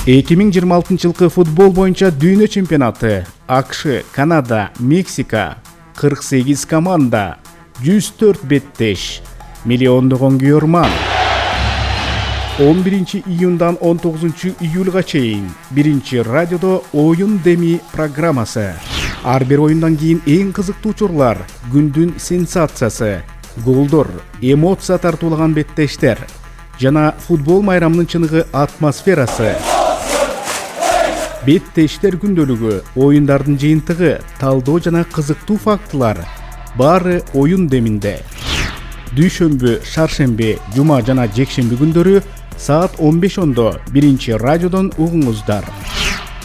2026 футбол боюнча дүйнө чемпионаты. АКШ, Канада, Мексика, 48 команда, 104 беттеш, миллиондогон күйөрман. 11 июндан 19 июлга чейин биринчи радиодо оюн деми программасы. Ар бир оюндан кийин эң кызыктуу учурлар, күндүн сенсациясы, голдор, эмоция тартуулаган беттештер жана футбол майрамынын чыныгы атмосферасы. Беттештер күндөлүгү, оюндардын жыйынтыгы, талдоо жана кызыктуу фактылар баары оюн деминде. Дүйшөмбү, шаршемби, жума жана жекшемби күндөрү саат 15:00 биринчи радиодон угуңуздар.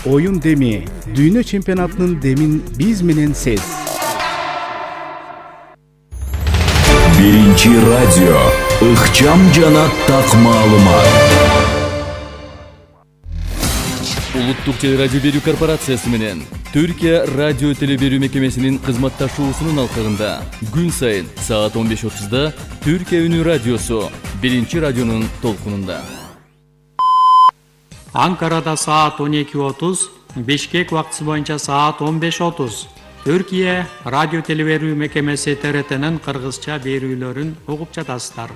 Оюн деми, дүйнө чемпионатынын демин биз менен сез. Биринчи радио, ыкчам жана так маалымат. Улуттук телерадио берүү корпорациясы менен Түркия радио теле берүү мекемесинин кызматташуусунун алкагында күн сайын саат 15:30 Түркия үнү радиосу биринчи радионун толкунунда. Анкарада саат 12:30, Бишкек убактысы боюнча саат 15:30. Түркия радио теле берүү мекемеси ТРТнын кыргызча берүүлөрүн угуп жатасыздар.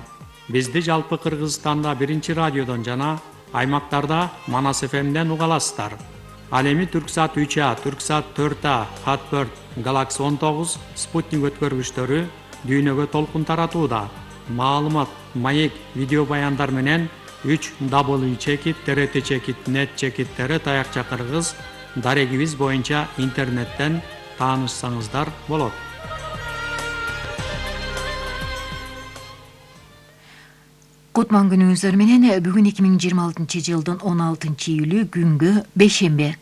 Бизди жалпы Кыргызстанда биринчи радиодон жана аймактарда Манас ФМден уга аласыздар. Ал эми Түрксат 3А, Түрксат 4А, Хатберт, Галакси 19, Спутник өткөргүчтөрү дүйнөгө толкун таратууда. Маалымат, маек, видео баяндар менен 3w.trt.net/tr таякча кыргыз дарегибиз боюнча интернеттен таанышсаңыздар болот. Кутман күнүңүздөр менен бүгүн 2026 жылдын 16 июлү күнгө бейшемби.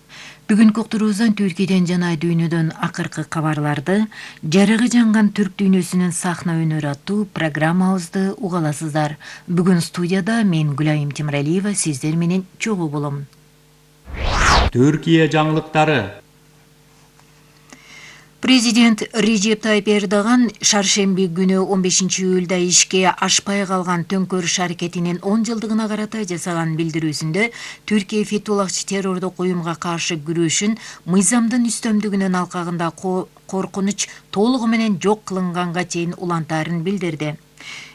Бүгүнкү уктуруубуздан Түркияден жана дүйнөдөн акыркы кабарларды, жарыгы жанган түрк дүйнөсүнүн сахна өнөрү аттуу программабызды уга аласыздар. Бүгүн студияда мен Гүлайым Темиралиева сиздер менен чогуу болом. Түркия жаңылыктары. Президент Режеп Тайип Эрдоган шаршемби күнү 15 июлда ишке ашпай калган төңкөрүш аракетинин 10 жылдыгына карата жасаган билдирүүсүндө Түркия Фетуллахчы террордук уюмга каршы күрөшүн мыйзамдын үстөмдүгүнүн алкагында коркунуч толугу менен жок кылынганга чейин улантаарын билдирди.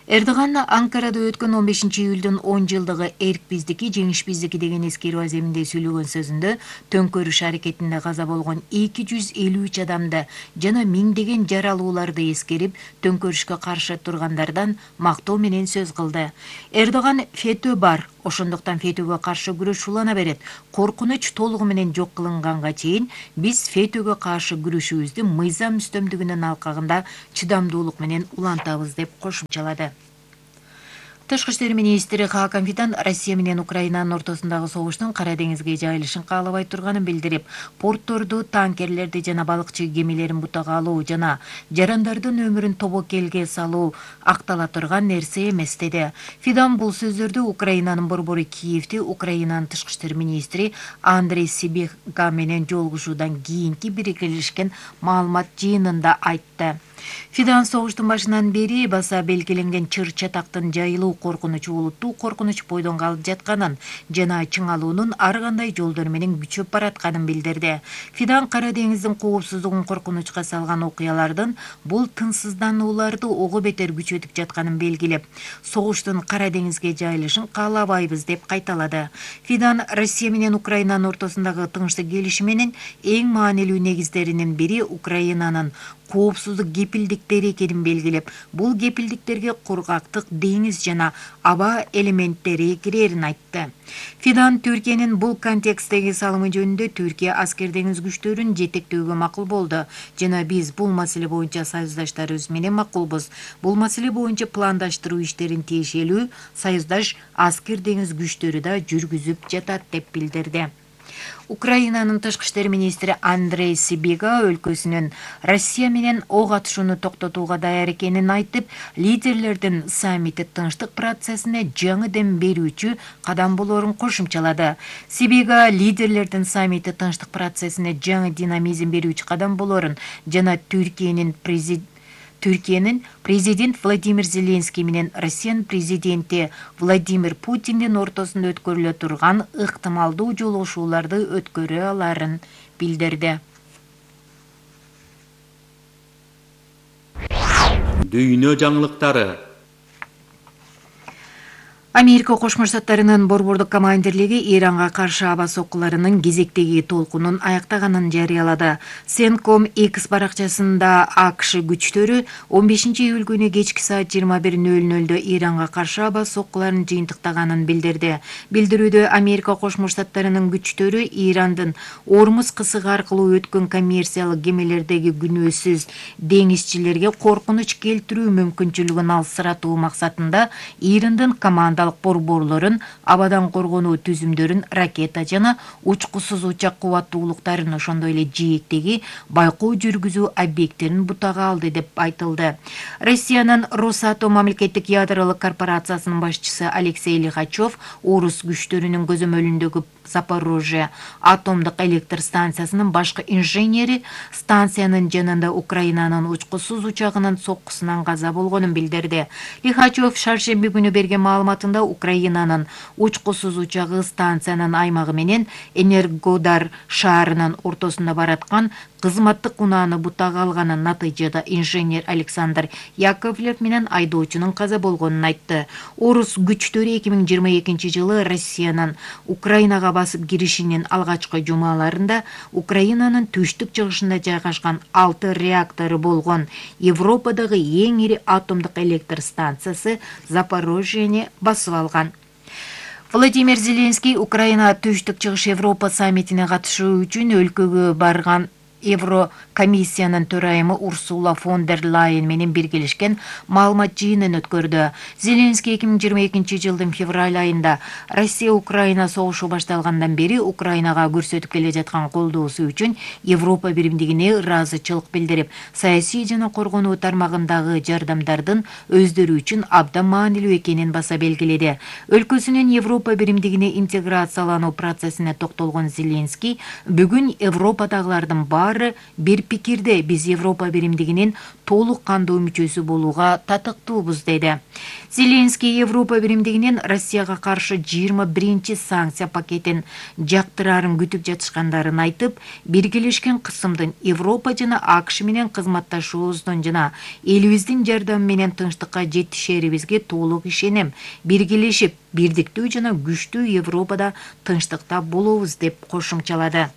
Эрдоган Анкарада өткөн 15 июлдун 10 жылдыгы эрк биздики, жеңиш биздики деген эскерүү аземинде сүйлөгөн сөзүндө төңкөрүш аракетинде каза болгон 253 адамды жана миңдеген жаралууларды эскерип, төңкөрүшкө каршы тургандардан мактоо менен сөз кылды. Эрдоган фетөө бар, ошондуктан фетөөгө каршы күрөш улана берет. Коркунуч толугу менен жок кылынганга чейин биз фетөөгө каршы күрөшүүбүздү мыйзам үстөмдүгүнүн алкагында чыдамдуулук менен улантабыз деп кошумчалады. Тышкы иштер министри Хакан Фидан Россия менен Украинанын ортосундагы согуштун Кара деңизге жайылышын каалабай турганын билдирип, портторду, танкерлерди жана балыкчы кемелерин бутага алуу жана жарандардын өмүрүн тобокелге салуу актала турган нерсе эмес деди. Фидан бул сөздөрдү Украинанын борбору Киевде Украинанын тышкы иштер министри Андрей Сибига менен жолугушуудан кийинки бирикелишкен маалымат жыйынында айтты. Фидан согуштун башынан бери баса белгиленген чыр-чатактын жайылуу коркунучу олуттуу коркунуч бойдон калып жатканын жана чыңалуунун ар кандай жолдор менен күчөп баратканын билдирди. Фидан Кара деңиздин коопсуздугун коркунучка салган окуялардын бул тынчсызданууларды ого бетер күчөтүп жатканын белгилеп, согуштун Кара деңизге жайылышын каалабайбыз деп кайталады. Фидан Россия менен Украинанын ортосундагы тынчтык келишиминин эң маанилүү негиздеринин бири Украинанын коопсуздук кепилдиктери экенин белгилеп, бул кепилдиктерге кургактык, деңиз жана аба элементтери кирерин айтты. Фидан Түркиянын бул контекстеги салымы жөнүндө Түркия аскер деңиз күчтөрүн жетектөөгө макул болду жана биз бул маселе боюнча союздаштарыбыз менен макулбуз. Бул маселе боюнча пландаштыруу иштерин тиешелүү союздаш аскер деңиз күчтөрү да жүргүзүп жатат деп билдирди. Украинанын тышкы иштер министри Андрей Сибига өлкөсүнүн Россия менен ок атышууну токтотууга даяр экенин айтып, лидерлердин саммити тынчтык процессине жаңы дем берүүчү кадам болоорун кошумчалады. Сибига лидерлердин саммити тынчтык процессине жаңы динамизм берүүчү кадам болоорун жана Түркиянын президент Владимир Зеленский менен Россиянын президенти Владимир Путиндин ортосунда өткөрүлө турган ыктымалдуу жолугушууларды өткөрө аларын билдирди. Дүйнө жаңылыктары. Америка Кошмо Штаттарынын борбордук командирлиги Иранга каршы аба соккуларынын кезектеги толкунун аяктаганын жарыялады. Сенком X баракчасында АКШ күчтөрү 15-июль күнү кечки саат 21:00 Иранга каршы аба соккуларын жыйынтыктаганын билдирди. Билдирүүдө Америка Кошмо Штаттарынын күчтөрү Ирандын Ормуз кысыгы аркылуу өткөн коммерциялык кемелердеги күнөөсүз деңизчилерге коркунуч келтирүү мүмкүнчүлүгүн алсыратуу максатында Ирандын команда борборлорун, абадан коргонуу түзүмдөрүн, ракета жана учкусуз учак кубаттуулуктарын, ошондой эле жээктеги байкоо жүргүзүү объекттерин бутага алды деп айтылды. Россиянын Росатом мамлекеттик ядролук корпорациясынын башчысы Алексей Лихачев орус күчтөрүнүн көзөмөлүндөгү Запорожье атомдук электр станциясынын башкы инженери станциянын жанында Украинанын учкусуз учагынын соккусунан каза болгонун билдирди. Лихачев шаршемби күнү берген маалыматында Украинанын учкусуз учагы станциянын аймагы менен Энергодар шаарынын ортосунда бараткан кызматтык унааны бутага алганын, натыйжада инженер Александр Яковлев менен айдоочунун каза болгонун айтты. Орус күчтөрү 2022 жылы Россиянын Украинага басып киришинин алгачкы жумаларында Украинанын түштүк-чыгышында жайгашкан 6 реактору болгон Европадагы эң ири атомдук электр станциясы Запорожьени басып алган. Владимир Зеленский Украина түштүк-чыгыш Европа саммитине катышуу үчүн өлкөгө барган Еврокомиссиянын төрайымы Урсула фон дер Лайен менен биргелешкен маалымат жыйынын өткөрдү. Зеленский 2022 жылдын февраль айында Россия Украина согушу башталгандан бери Украинага көрсөтүп келе жаткан колдоосу үчүн Европа биримдигине ыраазычылык билдирип, саясий жана коргонуу тармагындагы жардамдардын өздөрү үчүн абдан маанилүү экенин баса белгиледи. Өлкөсүнүн Европа биримдигине интеграциялануу процессине токтолгон Зеленский бүгүн Европадагылардын бир пикирде биз Европа биримдигинин толук кандуу мүчөсү болууга татыктуубуз деди. Зеленский Европа биримдигинин Россияга каршы 21 санкция пакетин жактырарын күтүп жатышкандарын айтып, биргелешкен кысымдын Европа жана АКШ менен кызматташуубуздун жана элибиздин жардамы менен тынчтыкка жетишерибизге толук ишенем. Биргелешип, бирдиктүү жана күчтүү Европада тынчтыкта болобуз деп кошумчалады.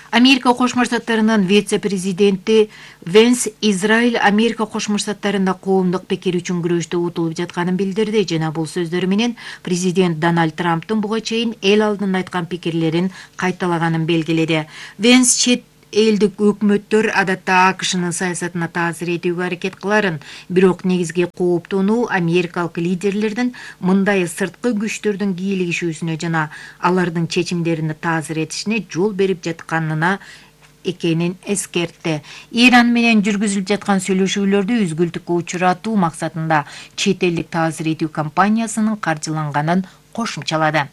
Америка Кошмо Штаттарынын вице-президенти Венс Израиль Америка Кошмо Штаттарында коомдук пикир үчүн күрөштө утулуп жатканын билдирди жана бул сөздөрү менен президент Дональд Трамптын буга чейин эл алдында айткан пикирлерин кайталаганын белгиледи. Венс чет элдик өкмөттөр адатта АКШнын саясатына таасир этүүгө аракет кыларын, бирок негизги кооптонуу америкалык лидерлердин мындай сырткы күчтөрдүн кийлигишүүсүнө жана алардын чечимдерине таасир этишине жол берип жатканына экенин эскертти. Иран менен жүргүзүлүп жаткан сүйлөшүүлөрдү үзгүлтүккө учуратуу максатында чет элдик таасир этүү компаниясынын каржыланганын кошумчалады.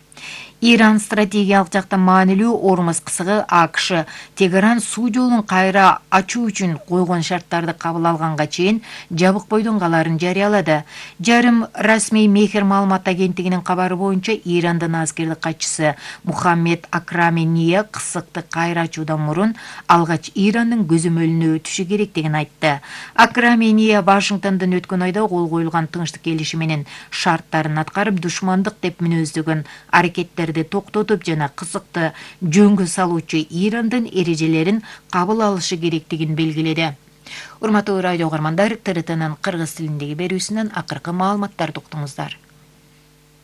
Иран стратегиялык жактан маанилүү Ормуз кысыгы АКШ Тегеран суу жолун кайра ачуу үчүн койгон шарттарды кабыл алганга чейин жабык бойдон каларын жарыялады. Жарым расмий Мехер маалымат агенттигинин кабары боюнча Ирандын аскердик катчысы Мухаммед Акрамения кысыкты кайра ачуудан мурун алгач Ирандын көзөмөлүнө өтүшү керектигин айтты. Акрамения Вашингтондон өткөн айда кол коюлган тынчтык келишими менен шарттарын аткарып, душмандык деп мүнөздөгөн аракеттерди токтотуп жана кысыкты жөнгө салуучу Ирандын эрежелерин кабыл алышы керектигин белгиледи. Урматтуу радио угармандар, ТРТнын кыргыз тилиндеги берүүсүнөн акыркы маалыматтарды уктуңуздар.